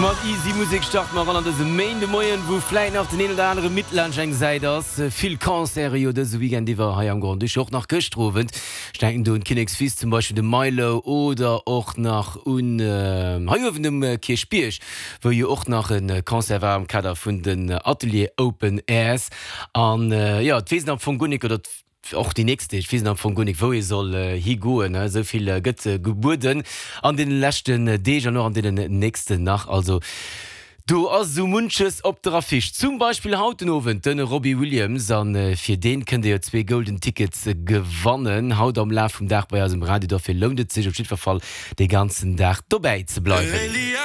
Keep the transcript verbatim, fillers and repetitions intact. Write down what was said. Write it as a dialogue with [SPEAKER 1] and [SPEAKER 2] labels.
[SPEAKER 1] Mat easy Musek starte mer an an dëse Méindemoien, wou vläicht nach den een oder anere midd laanscht eng Säit ass. Vill Concerte jo dëse Weekend iwwer hei am Grand-Duché, och nach gëschter Owend. Ech denken do un d'Kinnekswiss zum Beispill, de Milow oder och nach un hei uewen um Kierchbierg, wou jo och nach e Concert war am Kader vun den Atelier Open Airs. An jo, et weess een am Fong guer nik, oder och déi nächst Deeg weess een am Fong guer nik, wou ee soll higoen. Esou vill gëtt gebueden an deene leschten Deeg an och an deenen nächsten nach. Also do ass esou munches op der Affiche. Zum Beispill haut den Owend de Robbie Williams a fir dee kënnt Dir jo zwee Golden Tickets gewannen haut am Laf vum Dag bei eis um Radio. Dofir lount et sech op jiddwer Fall dee ganzen Dag dobäi ze bleiwen.